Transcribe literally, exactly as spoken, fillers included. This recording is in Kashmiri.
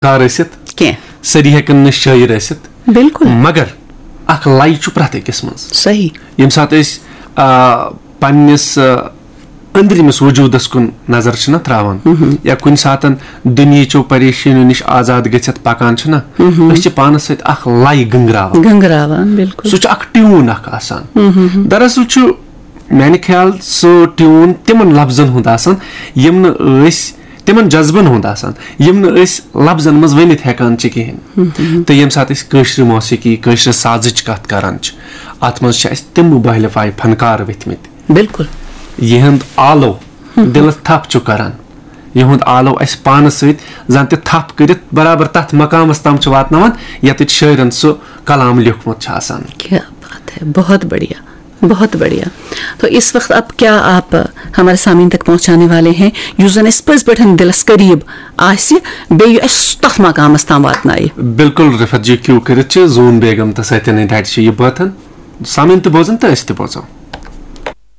فنکار ٲسِتھ، کینٛہہ۔ سٲری ہٮ۪کن نہٕ شٲعر ٲسِتھ، بِلکُل۔ مگر اکھ لَے چھُ پرٛٮ۪تھ أکِس منٛز۔ صحیح۔ ییٚمہِ ساتہٕ أسۍ آ، پننِس آ، أنٛدرِمِس وجوٗدس کُن نظر چھِنہ تراوان، یا کُنہِ ساتن دُنیہچو پریشٲنیو نِش آزاد گٔژھِتھ پکان چھِنہ، أسۍ چھِ پانس سۭتۍ اکھ لَے گنٛگراوان۔ گنٛگراوان، بِلکُل۔ سُہ چھُ اکھ ٹیوٗن اکھ آسان۔ دراصل چھُ میانہِ خیال سُہ ٹیوٗن تِمن لفظن ہُنٛد آسان، یِم نہٕ أسۍ تِمن جذبن ہُنٛد آسان، یِم نہٕ أسۍ لفظن منٛز ؤنِتھ ہٮ۪کان چھِ کِہینۍ۔ تہٕ ییٚمہِ ساتہٕ أسۍ کٲشرِ موسیقی، کٲشرِ سازٕچ کتھ کران چھِ، اتھ منٛز چھِ اَسہِ تِم مُبہلہِ فاے فنکار ؤتھۍ مٕتۍ، بِلکُل۔ یِہُنٛد آلو دِلس تھپھ چھُ کران، یِہُنٛد آلو اَسہِ پانس سۭتۍ زن تہِ تھپھ کٔرِتھ برابر تتھ مقامس تام چھُ واتناوان، یتٮ۪تھ شٲعرن سُہ کلام لیوٗکھمُت چھُ آسان۔ کیا بات ہے، بہت بڑھیا، بہت بڑھیا۔ تو اس وقت اب کیا آپ ہمارے سامعین تک پہنچانے والے ہیں، یُس زن اَسہِ پٔزۍ پٲٹھۍ دِلس قریب آسہِ، بیٚیہِ اَسہِ تتھ مقامس تام واتنایہِ؟ بِلکُل رفت جی، کیوٗ کٔرِتھ چھِ زوٗن بیگم تہٕ سَتیٖن ہٕنٛدِ اَتھِ چھِ یہِ بٲتھن۔ سامعین تہِ بوزن تہٕ أسۍ تہِ بوزو۔